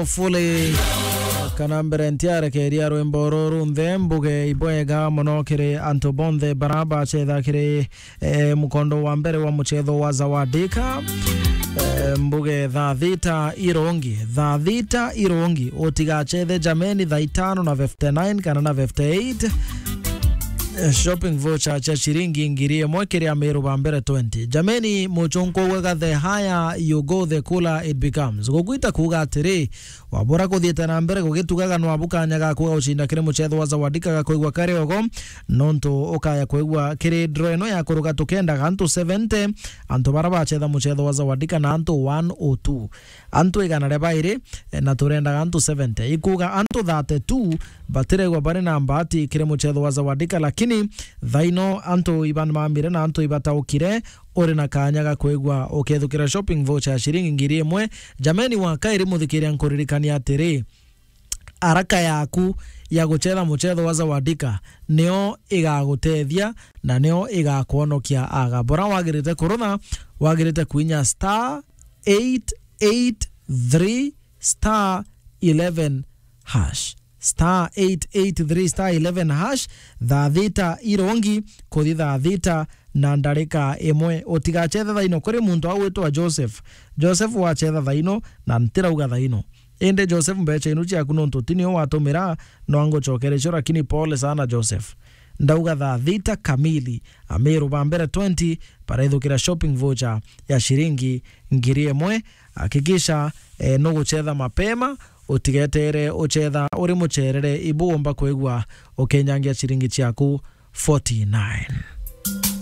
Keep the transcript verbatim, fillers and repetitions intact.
Fully. Kana mbere ntiarekeria rwimbo ruru nthe, mbuge ibwega mono kiri antu bonthe bara bacetha kiri, eh, mukondo wa mbere wa mucetho wa Zawadika. Eh, mbuge thaa thita irongi, thaa thita irongi, utigacethe jameni thaa itano na fifty-nine kana na fifty-eight. Eh, shopping voucher cia ciringi ngiri imwe kiri Amiru ba mbere twenty. Jameni, muchunku ugaga, the higher you go, the cooler it becomes. Gugwita kuuga atiri, wabura kuthiite na mbere gugitugaga, nwabu kanya gaku ga gucinda kiri mucetho wa Zawadika ga kwigua kari ogo, nontu ukaya kwigua kiri draw ino ya kuruga tukendaga antu seventy, antu bara bacetha mucetho wa Zawadika na antu one oh two. Antu igana ria bairi, eh, na turendaga antu seventy. Ikuuga antu thirty-two batiregwa bari na mbati kiri mucetho wa Zawadika, lakini thaino antu iba mamire na antu ibataukire, uri na kanya ga kwigua ukethukira shopping voucher ya ciringi ngiri imwe. Jameni, wa kairi muthikiria, nkuririkania atiri, araka yaku ya gucetha mucetho wa Zawadika nio igagutethia na nio igakwonokia aga. Bora wagirite kurutha, wagirite kuinya star eight eight three star eleven hash. Star eight eight three star eleven hash, thaa thita irongi kuthi thaa thita na ndarika imwe. Utigacethe thaino kuri muntu au witwa Joseph. Joseph, wacetha thaino, na ntirauga thaino. Indi Joseph, mbecha inu ciaku nontu ti nio watumira, no angucokere cio, lakini pole sana Joseph. Ndauga thaa thita kamili, Amiru ba mbere twenty barethukira shopping voucher ya ciringi ngiri imwe. Hakikisha, eh, nugucetha mapema, utigetere ucetha uri mucerere, ibu umba kwigua ukenyangia ciringi ciaku forty-nine.